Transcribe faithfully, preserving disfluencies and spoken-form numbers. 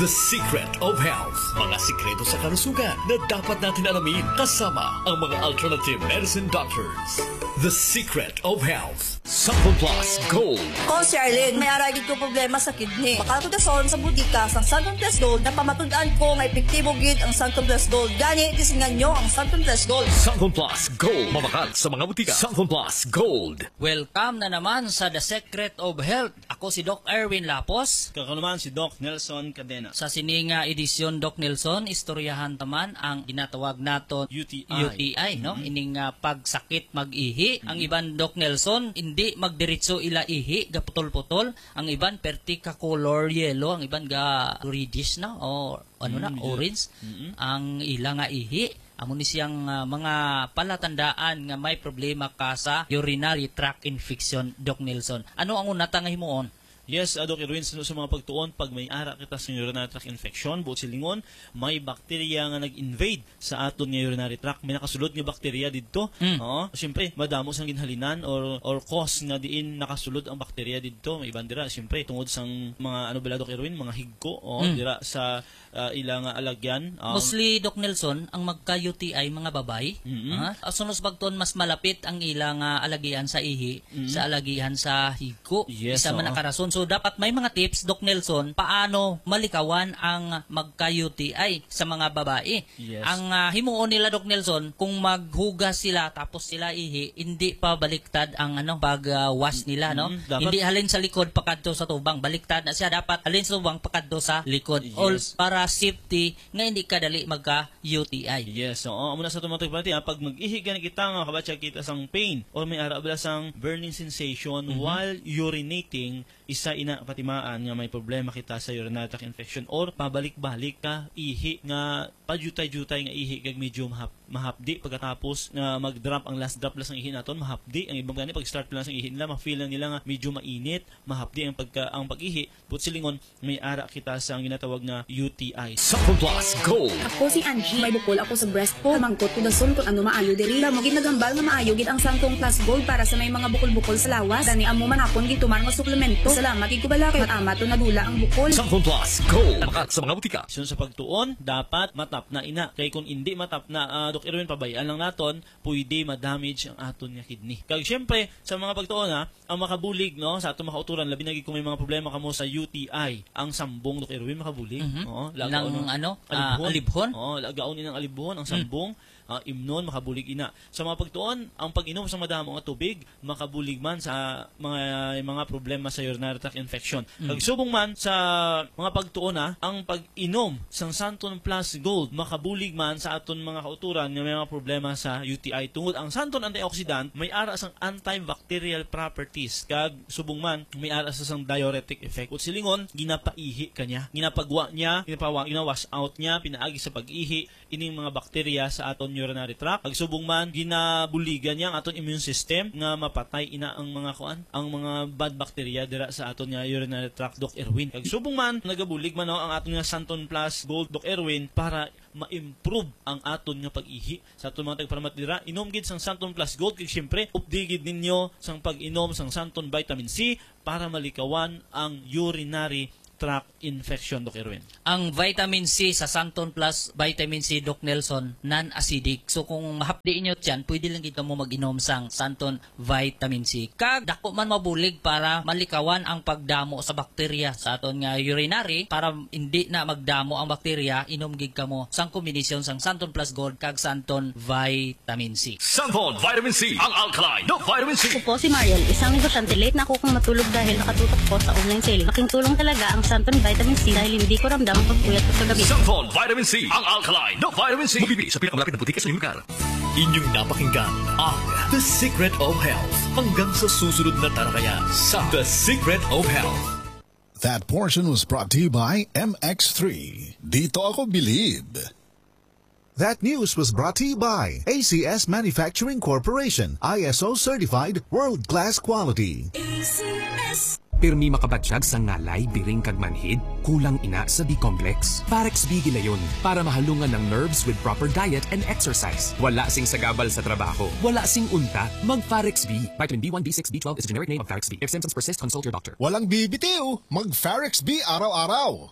The Secret of Health. Mga sikreto sa kalusugan na dapat natin alamin kasama ang mga alternative medicine doctors. The Secret of Health. Santon Plus Gold. Ko si Arlene, may ara gid ko problema sa kidney. Makal ko dason sa butika sang Santon Plus Gold, napamatud-an ko nga epektibo gid ang Santon Plus Gold. Gani, tisingan nyo ang Santon Plus Gold. Santon Plus Gold. Mamakal sa mga butika. Santon Plus Gold. Welcome na naman sa The Secret of Health. Ako si Doc Erwin Lapos. Ako naman si Doc Nelson Cadena. Sa sini nga edisyon, Doc Nelson, istoryahan ta man ang ginatawag naton U T I. U T I, no? Mm. Ining, ah, pagsakit mag-ihi. Ang Mm. iban, Doc Nelson, hindi magdiretso ila ihi, gaputol-putol. Ang iban, perti ka color yellow. Ang iban, ga reddish na, o ano na, Mm, orange. Mm. Ang ila nga ihi, amo ni siyang, ah, mga palatandaan nga may problema ka sa urinary tract infection, Doc Nelson. Ano ang una ta nga himuon? Yes, ah, Doc Erwin, sa, sa mga pagtuon, pag may ara kita sa urinary tract infection, buot silingon, may bakterya nga nag-invade sa aton nga urinary tract. May nakasulod nga bakterya didto. Mm. Oo. Siyempre, madamo sang ginhalinan or, or cause nga diin nakasulod ang bakterya didto. May iban dira, siyempre, tungod sang mga, ano bala, Doc Erwin, mga higko, o, Mm. dira sa, ah, ila nga alagyan. Um, Mostly, Doc Nelson, ang magka-U T I, mga babayi. Mm-mm. Ha? Asunos bagton, mas malapit ang ila nga alagian sa ihi Mm. sa alagihan sa higko. Yes, Isa man oo. na karason. So, dapat may mga tips, Doc Nelson, paano malikawan ang magka-U T I sa mga babae. Yes. Ang, ah, himuon nila, Doc Nelson, kung maghugas sila tapos sila ihi, hindi pa baliktad ang, ano, pag, ah, wash nila, no? Mm, dapat Hindi halin sa likod pakadto sa tubang. Baliktad na siya. Dapat halin sa tubang pakadto sa likod. Yes. All para safety nga hindi ka dali magka-U T I. Yes, oo. Amo na sa tumatag pati, ah, pag mag-ihi gani kita nga kabatyag kita sang pain or may ara bala sang burning sensation Mhm. while urinating, isa ina katimaan nga may problema kita sa urinary tract infection or pabalik-balik ka ihi nga payutay-yutay nga ihi kag medyo mahap-, mahapdi pagkatapos nga mag-drop ang last drop lang sang ihi naton, mahapdi. Ang ibang gani pag-start lang sang ihi nila, ma-feel lang nila nga medyo mainit, mahapdi ang pagka-, ang pag-ihi. Buot silingon, may ara kita sa ang ginatawag nga U T I. Santon Plus Gold. Ako si Angie. May bukol ako sa breast ko. Kamangkot ko dason kung ano maayo diri. Damo gid naghambal nga maayo gid ang Santon Plus Gold para sa may mga bukol-bukol sa lawas. Gani amo man akon gitumar nga suplemento. Salamat gid ko bala kay mat-amat to nadula ang bukol. Santon Plus Gold. Makat sa mga butika. Sunod sa pagtuon, dapat matapna ina. Kay kung indi matapna, ah, Doc Erwin, pabay-an lang naton, pwede ma-damage ang aton nga kidney. Kag siyempre, sa mga pagtuon, ha, ang makabulig, no, sa aton mga kauturan, labi na gid kung may mga problema kamo sa U T I, ang sambong, Doc Erwin, makabulig. Mhm. Oo, lagaon Nang ng ano, ah, alibhon. alibhon? Oo, lagaon inang alibhon, ang Mm. sambong, ah, imnon, makabulig ina. Sa mga pagtuon, ang pag-inom sa madamo nga tubig, makabulig man sa mga, mga problema sa urinary tract infection. Mm. Kag subong man sa mga pagtuon, ha, ang pag-inom sang Santon Plus Gold makabulig man sa aton mga kauturan nga may mga problema sa U T I. Tungod ang Santon antioxidant may ara sang antibacterial properties, kag subong man may ara sa sang diuretic effect. Buot silingon, ginapaihi ka niya, ginapagwa niya, ginapawa-, gina-wash out niya pinaagi sa pag-ihi ining mga bakterya sa aton urinary tract. Kag subong man, ginabuligan niya ang aton immune system nga mapatay ina ang mga kuan, ang mga bad bacteria dira sa aton nga urinary tract, Doc Erwin. Kag subong man, nagabulig man, no, ang aton nga Santon Plus Gold, Doc Erwin, para ma-improve ang aton nga pag-ihi. Sa aton mga tagparamat dira, inom gid sang Santon Plus Gold, kag siyempre, updi gid ninyo sang pag-inom sang Santon Vitamin C para malikawan ang urinary tract infection, Doc Erwin. Ang vitamin C sa Santon Plus Vitamin C, Doc Nelson, non-acidic. So, kung mahapdi inyo tiyan, pwede lang gid kamo mag-inom sang Santon Vitamin C. Kag dako man mabulig para malikawan ang pagdamo sa bakterya sa aton nga urinary, para hindi na magdamo ang bakterya, inom gid kamo sang kombinasyon sang Santon Plus Gold kag Santon Vitamin C. Santon Vitamin C, ang alkaline na vitamin C. Ako po si Marian, isang negosyante. Late na ako kung matulog dahil nakatutok po sa online selling. Laking tulong talaga ang Santon Vitamin C dahil hindi ko ramdam ang pagpuyat ko sa gabi. Santon Vitamin C, ang alkaline na vitamin C. Mabibili sa pinakamalapit na butika sa inyong lugar. Inyong napakinggan ang The Secret of Health. Hanggang sa susunod na talakayan sa The Secret of Health. That portion was brought to you by M X three. Dito ako bilib. That news was brought to you by A C S Manufacturing Corporation, I S O certified, world-class quality. A C S. Pirmi makabatyag sa ngalay, biring kag manhid, kulang ina sa B-complex. Farex B gilayon para mahalungan ang nerves with proper diet and exercise. Wala sing sagabal sa trabaho, wala sing unta. Mag Farex B. Vitamin B one, B six, B twelve is a generic name of Farex B. If symptoms persist, consult your doctor. Walang bibitiw, mag Farex B araw-araw.